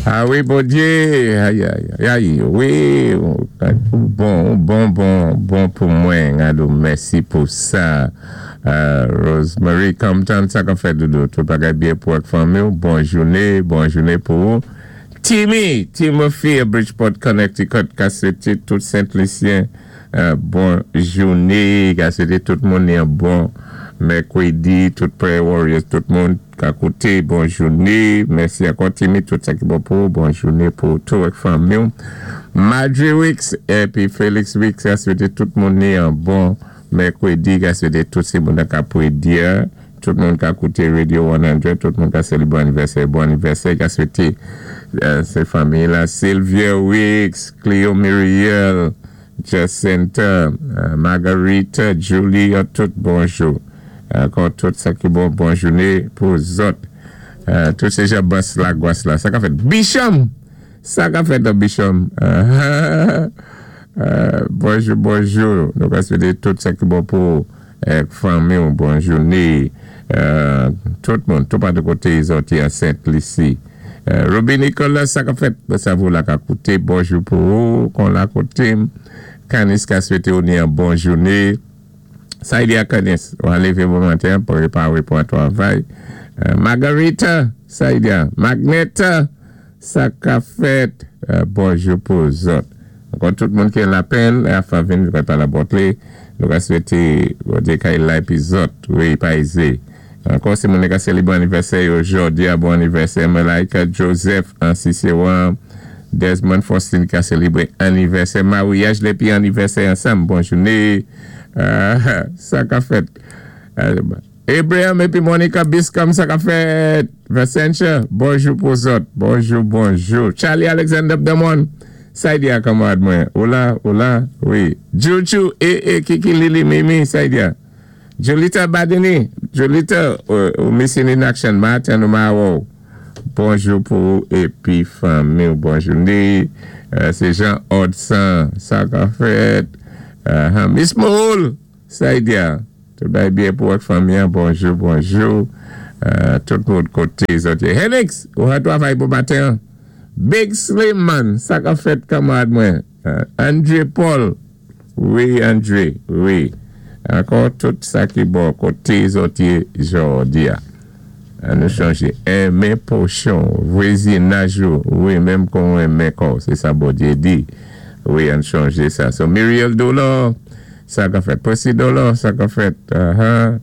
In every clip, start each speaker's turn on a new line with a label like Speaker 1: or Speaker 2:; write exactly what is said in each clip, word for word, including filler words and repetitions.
Speaker 1: Ah wi, Bondyé, ay, ay, ay, wi, bon, bon, bon, bon pou mwen, alò, mèsi pou sa. Euh, Rosemary Compton, sa k ap fèt, doudou, tout bagay byen pou ak fanmi, bon jounen, bon jounen pou ou. Timmy, Timothy, Bridgeport, Connecticut, ka swété tout Sent-Lisyen, euh, bon jounen, ka swété tout moun yon bon mèkwédi, tout Prayer Warriors, tout moun ka kouté, bon jounen, mèsi ankò Timmy, tout sa ki bon pou, bon jounen pou tout ak fanmi. Marjorie Wicks, épi Félix Wicks, ka swété tout moun yon bon mèkwédi, ka swété tout sé moun ka pwédi, tout moun ka kouté Radio san, tout moun ka sélébwé anivèsè, bon anivèsè, ka swété euh, sé fanmi la, Sylvia Wicks, Cleo Muriel, Jacinta, euh, Margarita, Julie, tout bonjou. Ankò tout sa ki bon, bon jounen pou zòt. Euh, tout sé jan bas la gwas la. Sa k ap fèt. Bicham! Sa k ap fèt Bicham. Euh, bonjou, bonjou. Nou ka swété tout sa ki bon pou euh, fanmi, bon jounen. Euh, tout moun, tout pa de koté zòt a Sent-Lisi. Euh, Ruby Nicolas, sa k ap fèt. Sa vou la ka kouté. Bonjou pou ou, kon la kouté. Kanis ka swété ou ni yon bon jounen. Sa y a Kanis, ou an lévé bon maten pou pwépawé pou an twavay. Euh, Margarita, sa y a. Magneta, sa k ap fèt. Euh, bonjou pou zòt. Ankò tout moun ki lapèn, a favin, nou pa la botle. Nou ka swété, bon kay la épi zòt, wi, pa ézé. Ankò si moun ka sélébwé anivèsè jòdi a, bon anivèsè Malaika Joseph, an Sisséwan, Desmond Faustin ki a sélébwé anivèsè, maryaj épi anivèsè ansanm, bon jounen. Euh, sa k ap fèt. Euh, Abraham épi Monica Biscom, sa k ap fèt. Vicentia, bonjou pou zòt. Bonjou, bonjou. Charlie Alexander Damon. Sa y di a kanmarad mwen. Ola, ola, wi. Juju, e, e, Kiki, Lili, Mimi, sa y di a. Julita Badini, Julita, ou missing in action, maten ou ma wou. Bonjou pou ou épi fanmi, bon jounen. Sé Jean Odson, sa k ap fèt. Uh, Miss Moul, sa y di a. Tout bagay byen pou ak fanmi, bonjou, bonjou. Uh, tout moun koté zòt. Henix, ou a twavay pou maten. Big Slim Man, sa k ap fèt kanmarad mwen. Uh, André Paul, wi André, wi. Ankò tout sa ki bon koté zòt jòdi a. An nou chanjé. Enmen pwochen, vwazinaj, wi, menm kon enmen kò, sé sa Bondyé di. Wi, an chanjé sa. So, Muriel Dolor, sa k ap fèt. Percy Dolor, sa k ap fèt. Uh-huh.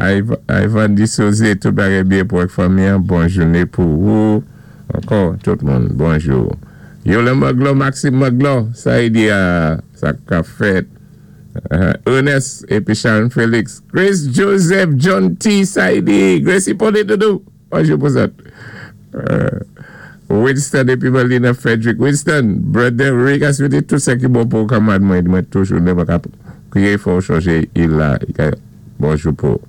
Speaker 1: Ivan Dissosé, tout bagay byen pou ak fanmi, bon jounen pou ou. Ankò, tout moun, bonjou. Yola Maglo, Maxime Maglo, sa y di a, sa k ap fèt. Uh, Ernest épi Sharon Félix. Grace Joseph, John T. Sa y di. Grace Hippolyte Doudou. Bonjou pou sa. Uh, Winston épi Melina Frederick. Winston, brother Rick, a swété tout sa ki bon pou kanmarad mwen, mwen toujou ne mwen krié fò chanjé il la. Bonjou pou.